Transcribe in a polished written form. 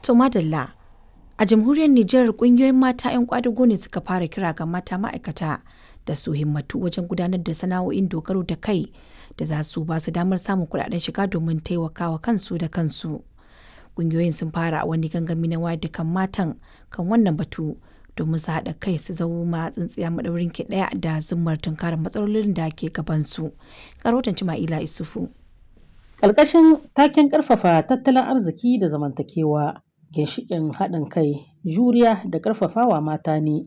To madalla, a jamhuriyar Nijar kungiyoyin mata 'yan kwadago ne suka fara kira ga mata ma'aikata da su himmatu wajen gudanar da sana'o'in dogaro da kai da za su ba su damar samun kuɗaɗen shiga domin taimakawa kansu da kansu. Kungiyoyin sun fara wani gangami na wayar da kan matan kan wannan batu domin su haɗa kai su zama tsintsiya maɗaurin ki ɗaya da zummar tunkarar matsalolin da ke gabansu. Karotan Cima'ila Isufu. Ƙarƙashin taken ƙarfafa tattalin arziki da zamantakewa, ginshiƙin haɗin kai, juriya da ƙarfafawa mata ne.